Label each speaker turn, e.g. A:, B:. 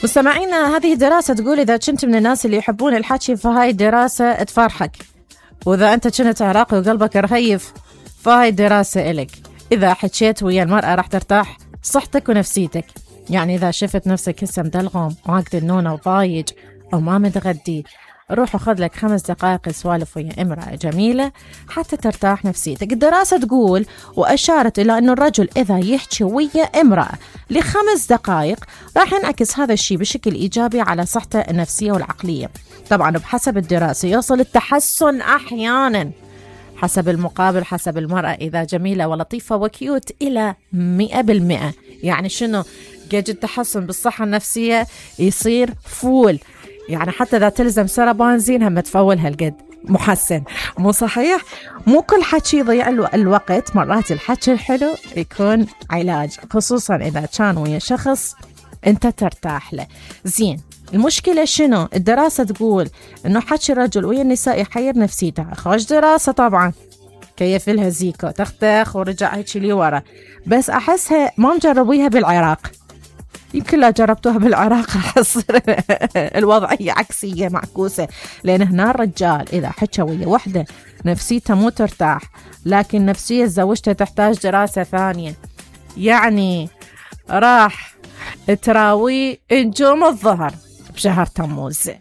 A: مستمعينا، هذه دراسة تقول إذا كنت من الناس اللي يحبون الحكي فهاي دراسة تفرحك، وإذا أنت كنت عراقي وقلبك رهيف فهاي دراسة إلك. إذا حكيت ويا المرأة راح ترتاح صحتك ونفسيتك. يعني إذا شفت نفسك هسه مدلغم واقد النونة وضايج أو ما متغدي، روح وخذ لك 5 دقائق سوالف ويا امرأة جميلة حتى ترتاح نفسيتك. الدراسة تقول وأشارت إلى أن الرجل إذا يحكي ويا امرأة ل5 دقائق راح ينعكس هذا الشيء بشكل إيجابي على صحته النفسية والعقلية. طبعا بحسب الدراسة يوصل التحسن أحيانا حسب المقابل، حسب المرأة إذا جميلة ولطيفة وكيوت إلى 100%. يعني شنو؟ قد التحسن بالصحة النفسية يصير فول، يعني حتى إذا تلزم سربان زين هم تفول هالقد محسن. مو صحيح؟ مو كل حكي يضيع الوقت، مرات الحكي الحلو يكون علاج، خصوصا إذا كان ويا شخص أنت ترتاح له. زين، المشكلة شنو؟ الدراسة تقول إنه حكي الرجل ويا النساء يحير نفسيتها. خوش دراسة طبعا، كيف لها زيكو تختخ ورجع هيك لي ورا، بس أحسها ما مجربيها بالعراق. يمكن لا جربتوها بالعراق راح تصير الوضعية عكسية معكوسة، لأن هنا الرجال إذا حكى ويا وحدة نفسيته مو ترتاح، لكن نفسية زوجته تحتاج دراسة ثانية. يعني راح تراوي نجوم الظهر بشهر تموز.